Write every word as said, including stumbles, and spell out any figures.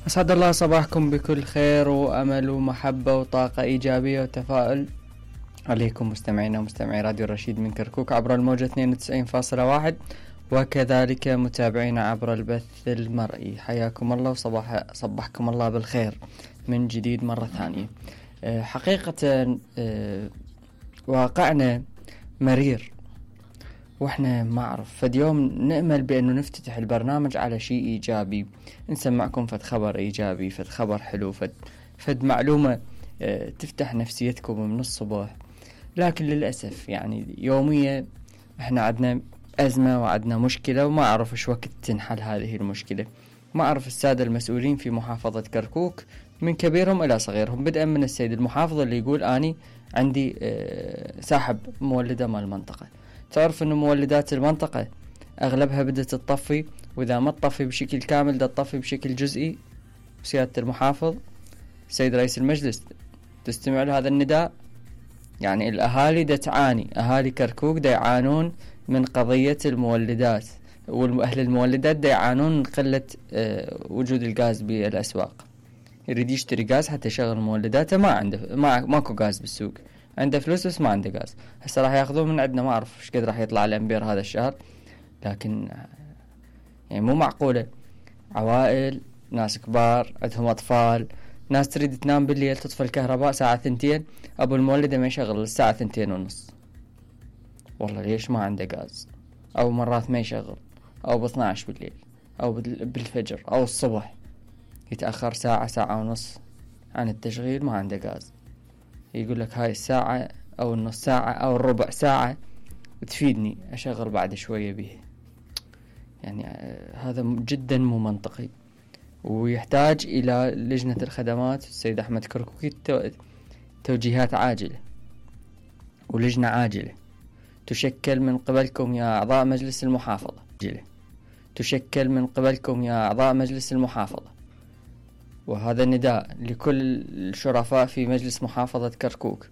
أسعد الله صباحكم بكل خير وأمل ومحبة وطاقة إيجابية وتفاؤل عليكم مستمعينا ومستمعي راديو الرشيد من كركوك عبر الموجة اثنين وتسعين فاصلة واحد، وكذلك متابعينا عبر البث المرئي. حياكم الله وصباح صبحكم الله بالخير من جديد مرة ثانية. حقيقة واقعنا مرير واحنا ما اعرف، فد يوم نأمل بانه نفتتح البرنامج على شيء ايجابي، نسمعكم فد خبر ايجابي، فد خبر حلو، فد, فد معلومة اه تفتح نفسيتكم من الصبح. لكن للأسف يعني يوميا احنا عدنا ازمة وعدنا مشكلة وما اعرف ايش وقت تنحل هذه المشكلة. ما اعرف السادة المسؤولين في محافظة كركوك من كبيرهم الى صغيرهم، بدءا من السيد المحافظ اللي يقول اني عندي اه ساحب مولدة مال المنطقة. تعرف انه مولدات المنطقة اغلبها بدأت تطفي، واذا ما تطفي بشكل كامل دا تطفي بشكل جزئي. سيادة المحافظ سيد رئيس المجلس تستمع لهذا النداء؟ يعني الاهالي دا تعاني، اهالي كركوك دا يعانون من قضية المولدات، واهل المولدات دا يعانون من قلة اه وجود الغاز بالاسواق. يريد يشتري غاز حتى يشغل مولداته، ما عنده، ما ماكو غاز بالسوق، عنده فلوس بس ما عنده غاز. هسه راح ياخذوه من عندنا، ما اعرف ايش قد راح يطلع الامبير هذا الشهر، لكن يعني مو معقولة. عوائل، ناس كبار عندهم اطفال، ناس تريد تنام بالليل، تطفي الكهرباء ساعة ثنتين، ابو المولد ما يشغل الساعة ثنتين ونص. والله ليش ما عنده غاز؟ او مرات ما يشغل، او باثناعش بالليل، او بالفجر، او الصبح يتأخر ساعة ساعة ونص عن التشغيل، ما عنده غاز. يقول لك هاي الساعة او النص ساعة او الربع ساعة تفيدني اشغل بعد شوية به. يعني هذا جدا مو منطقي، ويحتاج الى لجنة الخدمات السيد احمد كركوكي توجيهات عاجلة ولجنة عاجلة تشكل من قبلكم يا اعضاء مجلس المحافظة، تشكل من قبلكم يا اعضاء مجلس المحافظة. وهذا النداء لكل الشرفاء في مجلس محافظة كركوك،